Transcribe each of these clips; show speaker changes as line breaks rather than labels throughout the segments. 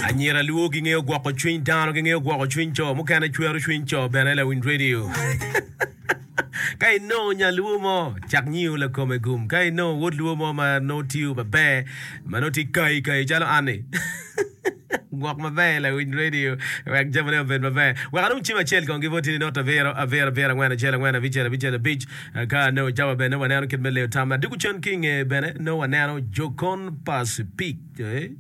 Anyira luo gingeyo gwoko cwiny dano, gingeyo gwoko cwiny co, mukene cwero cwiny co bene lawiny radio. Ka inongo nya luo mo, cak nyiyo lakome gum. Ka inongo wod luo mo ma nongo tiyo maber, ma nongo tye kai kai calo an-ni, gwok maber lawiny radio wek jamine obed maber. Wek anong cim acel kong ki boti ni not abiro abiro abiro angwen acel angwen abicel abicel abic. Ka anongo cawa bene nongo waneno kit me leyo tam. Adwogo cen ki i nge bene nongo waneno jokon pa Speke.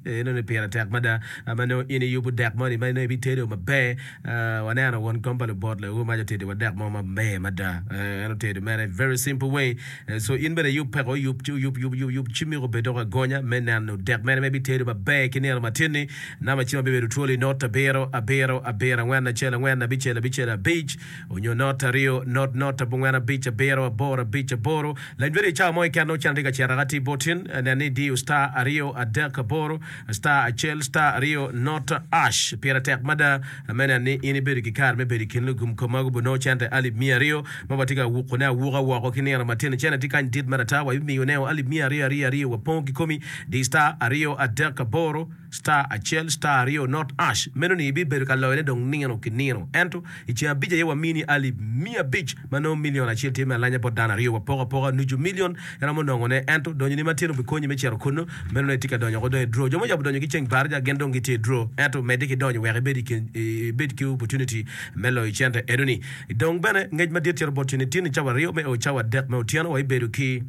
Eno ni pire tek mada ma nongo in iyubo dek moni ma nongo ibitedo maber. Waneno won kom pa lubot lewu mac otedo wa dek mo maber mada. En otedo mere very simple way. So in bene iyub peko, yub yub yub yub yub ci miko obed dok agonya me neno dek mere ma ibitedo maber ki nino matin-ni. Namba cim abibedo twolo i not abiro abiro abiro angwen acel angwen abicel abicel abic onyo not aryo not not abongwen abic abiro aboro abic aboro. Lany bedo i cawa mo keken nongo cen tye ka cito aka tye botin. Nen ni idiyo star aryo adek aboro star acel star aryo not ash. Pire tek mada me neno ni in ibedo ki kare me bedo i kin lugum kom ma gubo nongo cente alip miya aryo ma watye ka wukone awuka woko ki nino matino. Cente tye kany dit mere ata wa ibimiyone o alip miya aryo aryo aryo wapongo ki komi. Di star aryo adek aboro star acel star aryo not ash. Meno ni ibibedo ka loyone dong nino ki nino. Ento I ceng abic aye wamini alip miya abic ma nongo milion acel tye me alanya bot dano aryo. Wapoko apoka nucu milion iromo nongone. Ento donyoni matino bikonyi me cito kunnu. Meno nongo itye ka donyo oko dong i draw. Jo muyabo donyo ki ceng baraja gin dong gitye i draw. Ento medde ki donyo wek ibed i kin ibed ki opportunity me loyo cente enoni. Dong bene ngec madit cito bot ceni tin i cawa aryo me o cawa adek me otyeno wa ibedo ki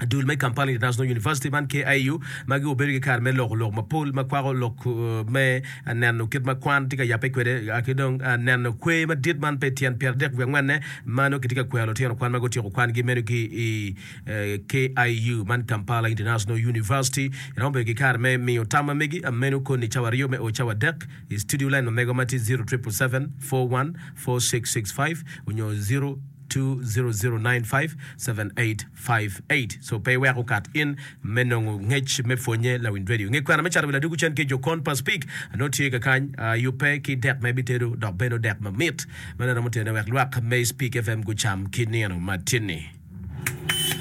Dul me Kampala International University man, KIU, magi obedo ki kare me loko lok mapol ma kwako lok me neno kit ma kwan tye ka yabbe kwede ki dong neno kwer madit man pe tyen 34 angwenne ma nongo kitye ka kwero lutino kwan ma gutyeko kwangi meno ki i KIU man Kampala International University. Iromo bedo ki kare me miyo tam ma megi meno koni cawa aryo me o cawa adek i studio line ma mego ma tye 0777 41 4665 onyo 0 200957858 So pe iwek okat in me nongo ngec me pwonye lawiny radio. Nge kwena me cato wi ladwogo cen ki Jokon pa Speak nongo tye kakany yubbe ki dek ma ibitedo dok bene odek mamit ma nongo romo tene wek lwak me Speak FM gucam ki nino matin-ni.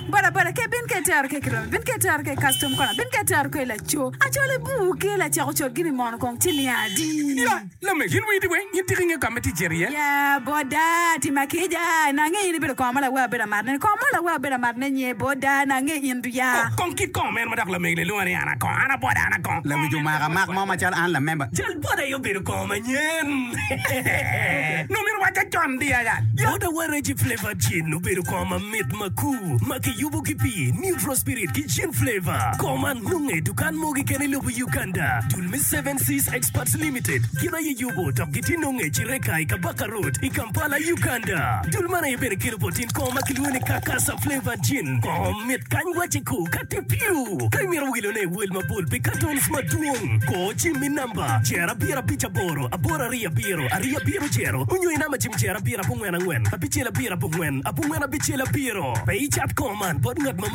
Boda boda ke bin ke tero ke kiromi bin ke tero ke custom kona bin ke tero ke laco acol ibur ke lacako cot gini mono kong ci niya adi.
Ya, lamego, in wii weng, in tika ingeyo ka ma itye cito iye?
Ya, boda, tima kica, nange in ibedo kongo ma lawer bedo amat ne, kongo mo lawer bedo amat ne nye, boda, nange in du ya.
Kong kit kongo meno ma dok lamego ni lwonga ni an akongo, an aboda, an akongo.
Lawic omako amak mo macalo an lamemba.
Cal boda aye obedo kongo manyen. Nongo myero wacca con di aya.
Boda Waragi Flavour Gin obedo kongo mamit makur ma kiyubo ki pii, neutral spirit ki gin flavour. Kongo man nonge i dukan mo keken i lobo Uganda. Dul me Seven Seas Experts Limited gin aye yubo dok gitye nonge i Kireka i Kabaka Road i Kampala, Uganda. Dul man aye bene kelo bot in kongo ma kilwongo ni Kakasa Flavour Gin. Kongo mit kany wacce ku ka tye piu. Ka imito wilone i wel mapol pi cartons madwong, kor cim i namba jer abiro abic aboro aboro aryo abiro aryo abiro jero onyo i namba cim jer abiro abongwen angwen abicel abiro abongwen abongwen abicel abiro. Pe icat kongo man bot ngat ma.